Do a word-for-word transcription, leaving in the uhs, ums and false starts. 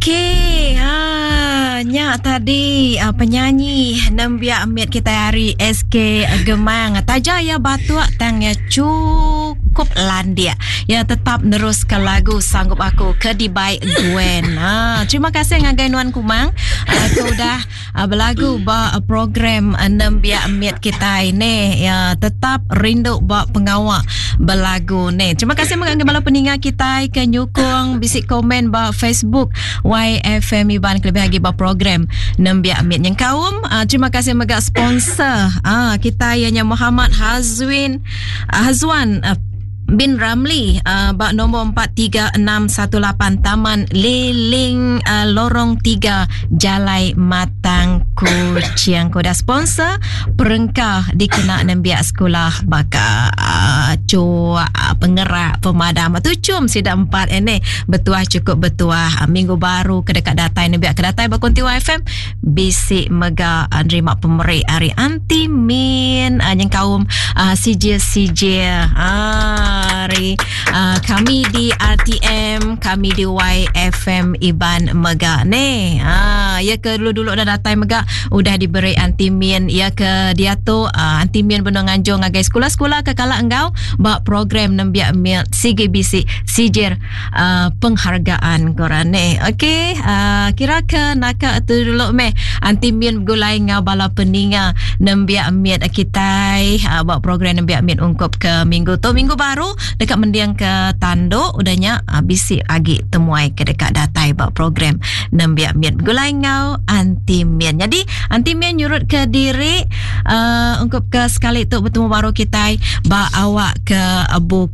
Okey, ha, nya tadi uh, penyanyi nembiak mit kita hari S K Gemang. Taja ya batuk, tang ya cukup landik. Ya tetap nerus ke lagu "Sanggup Aku" ke dibai Gwen. Ha, terima kasih ngagai Nuan Kumang uh, ke udah uh, belagu ba uh, program uh, nembiak mit kita ini. Ya tetap rindu ba pengawak belagu ni. Terima kasih mengenai bala peninga kita ke nyukung, bisik komen ba Facebook Y F M Iban, kelebih lagi ba program nembiak mit yang kaum. Uh, terima kasih mega sponsor uh, kita ianya Muhammad Hazwin uh, Hazwan uh, bin Ramli uh, bak nombor empat tiga enam satu lapan, Taman Liling, uh, Lorong tiga, Jalai Matang, Kuching. Koda sponsor perengka dikena nembiak sekolah baka uh, cuak, uh, pengerak, pemadam tu cum sida empat ini betuah, cukup betuah. Uh, minggu baru ke dekat datai nembiak ke datai bakunti Y F M bisik mega uh, nerima pemeri hari Anti Min uh, yang kaum uh, C J C J uh, hari uh, kami di R T M, kami di Y F M Iban mega ni. Ha, ya ke dulu-dulu dah datai mega udah diberi antimin, ya ke dia tu uh, antimin benar nganjung ngagai sekolah-sekolah ke kala engkau bak program nembiak mil C G B C sijir uh, penghargaan koran ni. Okey, uh, kira ke naka tu dulu meh antimin gulai ngau bala peninga nembiak mit kita uh, buat program nembiak mit ungkup ke minggu tu. Minggu baru dekat mendiang ke tanduk udahnya uh, bisi agi temuai ke dekat datai buat program nembiak mit gulai ngau antimin. Jadi antimin nyurut ke diri uh, ungkup ke sekali tu, bertemu baru kita ba awak ke buku.